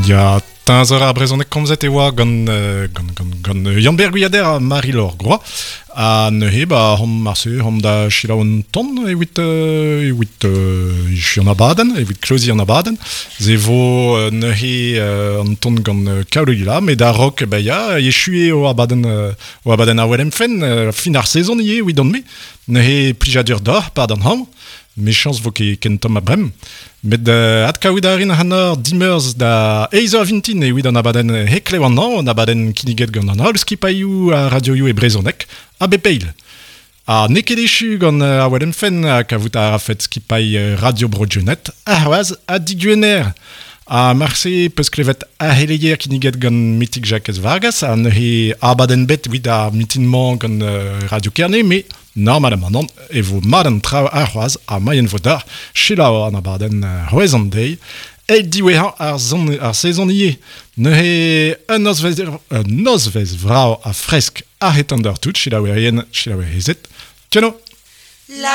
Ya, teñzor ar brezhoneg komzet e oa gant, gant, gant, gant Yann-Ber Gwiader ha Marie-Laure Groix. Ha neuze, ba, hom marse, hom da selaou un ton evit, evit echuiñ an abadenn, evit kloziñ an abadenn. Se vo neuze an ton gant Kaolila, met a-raok, ba ya, echu eo abadenn, o abadenn ar Welem Fenn, fin ar sezon ivez evidon-me. Neuze plijadur deoc'h, pad an hañv. Mechañs vo ket ken tomm a brem. Met adkaout a rin ac'hanoc'h dimeurzh da eizh eur vintin evit an abadenn Heklev an hañv, an abadenn kinniget gant an holl skipailhoù ha radioioù e brezhoneg a bep eil. Ha n'eo ket echu gant ar Welenfenn ha kavout a rafet skipailh Radio Bro Dionet arc'hoazh ha digwener. Ha marse peus klevet ar c'heleier kinniget gant Mitig Jakez Vargas ha neuze abadenn bet evit ar mitin-mañ gant Radio Kerne, met Normalamant e vo mat an traoù arc'hoazh ha moaien vo deoc'h selaou an abadenn c'hwezh an deiz eil diwezhañ ar son ar sezon ivez. Neuze un nozvezh un nozvezh vrav ha fresk a-hed an deoc'h tout, selaouerien, selaouerezed. Tcheno! La.